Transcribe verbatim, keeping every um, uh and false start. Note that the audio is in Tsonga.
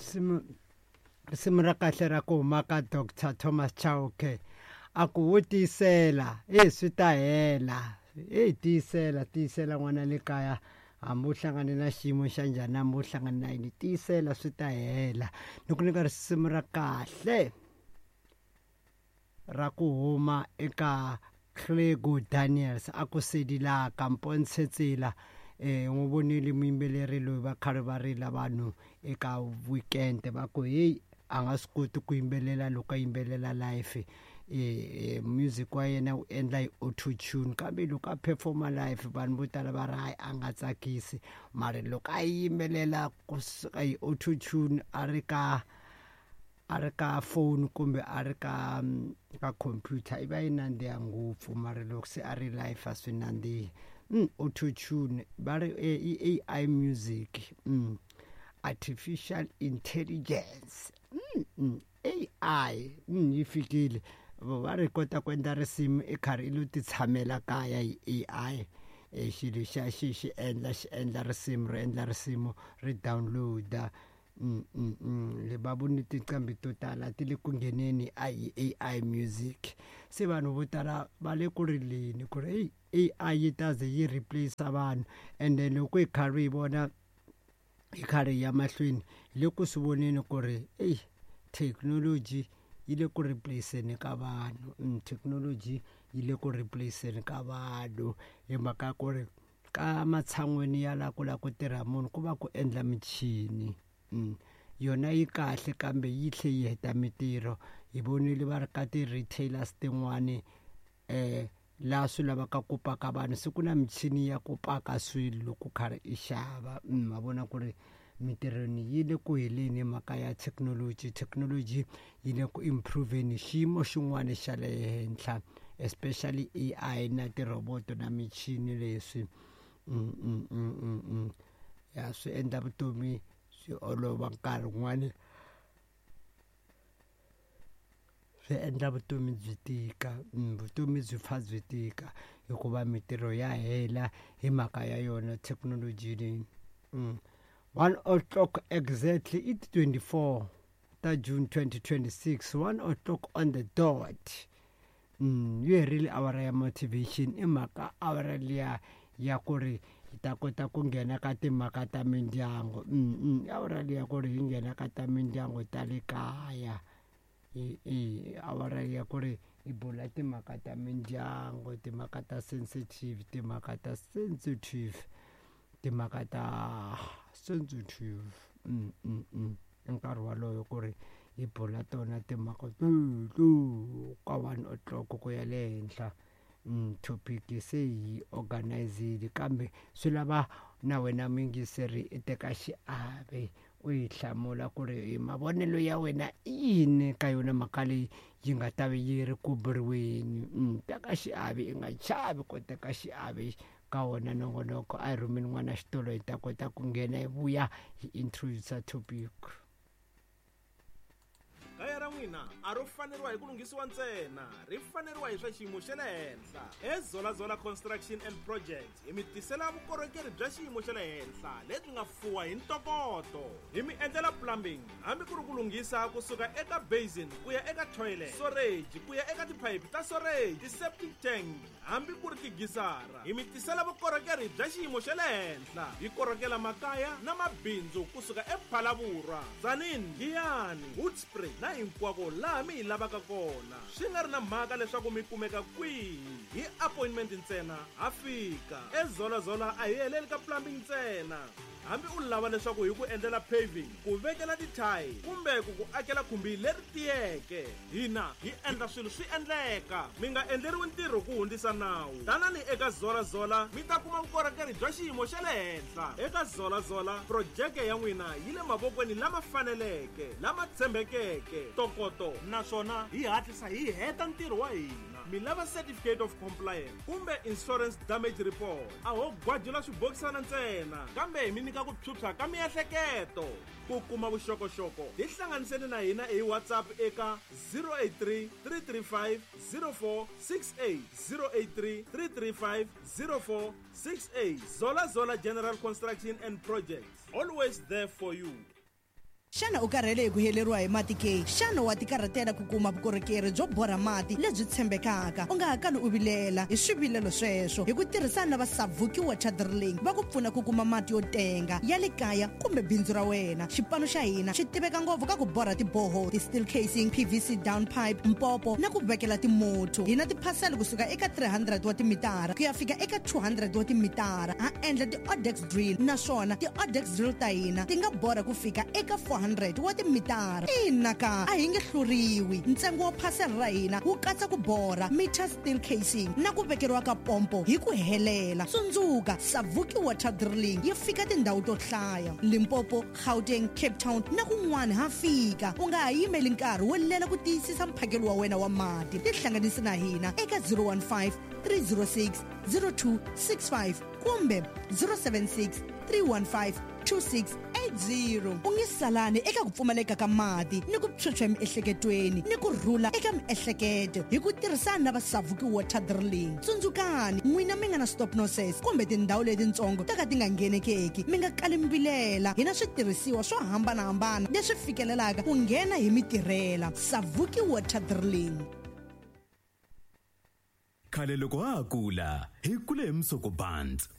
Risimu risimu ra kahle ra ku huma ka Doctor Thomas Chauke a ku wo tiyisela e swi ta hela e tiyisela tiyisela n'wana le kaya hambi u hlangane na xiyimo xa njhani hambi u hlangane na yini tiyisela swi ta hela ni ku nyika risimu ra kahle ra ku huma eka Clego Daniels a ku sedilaka mpontshe tsela eh n'wi vonile muyimbeleri loyi va khale va rila vanhu eka weekend va ku heyi a nga swi koti ku yimbelela loko a yimbelela live eh music wa yena wu endla hi auto tune kambe loko a performa live vanhu vo tala va ri hayi a nga tsakisi mara loko a yimbelela kusuka hi auto tune a ri ka a ri ka phone kumbe a ri ka ka computer i va yi nandziha ngopfu mara loko se a ri live a swi nandzihi mm, auto tune va ri i A I music mm, artificial intelligence mm, mm, A I mm, yi fikile va ri kota ku endla risimu i karhi i lo ti tshamela kaya hi A I e xilo xa xi xi endla xi endla risimu ri endla risimu ri download-a mm, mm, mm. va voni tinqambi to tala ti le ku ngheneni a hi A I music se vanhu vo tala va le ku rileni ku ri eyi A I yi ta ze yi replace vanhu ende loko hi karhi hi vona hi karhi hi ya mahlweni hi le ku swi voneni ku ri eyi thekinoloji yi le ku replace-eni ka vanhu mm, thekinoloji yi le ku replace-eni ka vanhu hi mhaka ku ri ka matshan'weni ya la ku lava ku tirha munhu ku va ku endla michini mm. yona yi kahle kambe yi tlhe yi heta mitirho hi vonile va ri ka ti-retailers tin'wani eh laha swi lavaka ku paka vanhu se ku na michini ya ku paka swilo loko karhi i xava ma vona ku ri mitirhweni yi le ku heleni hi mhaka ya thekinoloji thekinoloji yi le ku improve-ni xiyimo xin'wana xa le henhla especially A I na tirhoboto na michini leswi mm, mm, mm, mm, mm. ya swi endla vutomi swi olova nkarhi wun'wani swi endla vutomi byi tika vutomi byi pfa byi tika hikuva mitirho ya hela hi mhaka ya yona thekinoloji leyi mm. one o'clock exactly i twenty-four ta June twenty twenty-six one o'clock on the dot mm, yi herile awara ya motivation i mhaka awara liya ya ku ri hi ta kota ku nghena ka timhaka ta mindyangu mm, mm, awara liya ku ri hi nghena ka ta mindyangu ta le kaya i awara ya ku ri hi bula timhaka ta mindyangu timhaka ta sensitive timhaka ta sensitive timhaka ta sensitive mm, mm, mm. nkarhi waloyo ku ri hi bula tona timhaka teto ka one o'clock ku ya le henhla mm, topic se hi organizile kambe swi lava na wena muyingiseri i teka xiave u yi hlamula ku ri hi mavonelo ya wena i yini ka yona mhaka leyi yi nga ta ve yi ri ku buriweni mm, teka xiave i nga chavi ku teka xiave ka wona nongonoko a hi rhumeni n'wana xitolo hi ta kota ku nghena hi vuya hi introduce topic. Kaya ra n'wina a ro faneriwa hi ku lunghisiwa ntsena ri faneriwa hi swa xiyimo xa le henhla eZola Construction and Projects hi mi tisela vukorhokeri bya xiyimo xa le henhla lebyi nga fuwa hi ntokoto hi mi endlela plumbing hambi ku ri ku lunghisa kusuka eka basin ku ya eka toilet storage ku ya eka tiphayiphi ta storage ti-septic tank hambi ku ri tigisara hi mi tisela vukorhokeri bya xiyimo xa le henhla hi korhokela makaya na mabindzu kusuka ePhalavurwa Tzaneen Giyani Hoedspruit na hinkwako laha mi hi lavaka kona swi nga ri na mhaka leswaku mi kumeka kwihi hi appointment ntsena ha fika eZola a hi heleli ka plumbing ntsena hambi u lava leswaku hi ku endlela paving ku vekela tithayi kumbe ku ku akela khumbi leri tiyeke hina hi endla swilo swi endleka mi nga endleriwi ntirho ku hundzisa nawu tanani eka Zola Zola mi ta kuma vukorhokeri bya xiyimo xa le henhla eka Zola Zola projeke ya n'wina yi le mavokweni lama faneleke lama tshembekeke ntokoto naswona hi hatlisa hi heta ntirho wa hina mi lava certificate of compliance kumbe insurance damage report a ho gwajula swibokisana ntsena kambe hi mi nyika ku phyuphya ka miehleketo ku kuma vuxokoxoko tihlanganiseni na hina hi WhatsApp eka zero eight three three three five zero four six eight zero eight three three three five zero four six eight Zola Zola General Construction and Projects always there for you. Xana u karhele hi ku heleriwa hi mati ke? Xana wa tikarhatela ku kuma vukorhokeri byo borha mati lebyi tshembekaka? U nga ha kali u vilela hi swivilelo sweswo hi ku tirhisana na va Savuki Water Drilling va ku pfuna ku kuma mati yo tenga ya le kaya kumbe bindzu ra wena. Xipano xa hina xi tiveka ngopfu ka ku borha tiboho, ti-steel casing, P V C down pipe, mpopo na ku vekela timotho. Hi na tiphasela kusuka eka three hundred wa timitara ku ya fika eka two hundred wa timitara. Ha endla ti-odex drill, naswona ti-odex drill ta hina ti nga borha ku fika eka four hundred wa timitara. Ina ka, a hi nge hluriwi. Ntsengo wa phasela ra hina wu katsa ku borha meter, steel casing na ku vekeriwa ka pompo hi ku helela. Tsundzuka, Savuki Water Drilling yi fika tindhawu to hlaya: Limpopo, Gauteng, Cape Town na kun'wana ha fika. U nga ha yimeli nkarhi wo lela ku tiyisisa mphakelo wa wena wa mati. Tihlanganisi na hina eka zero one five three zero six zero two six five kumbe zero seven six three one five two six eight zero. U nge salani eka ku pfumaleka ka mati ni ku phyuphya emiehleketweni ni ku rhula eka miehleketo hi ku tirhisana na va Savuki Water Drilling. Tsundzukani, n'wina mi nga na stop nonsense kumbe tindhawu letitsongo to ka ti nga nghenekeki, mi nga kali mbilela. Hi na switirhisiwa swo hambanahambana leswi fikelelaka ku nghena hi mitirhela. Savuki Water Drilling. Khale loko ha ha kula hi kule hi musoko bands.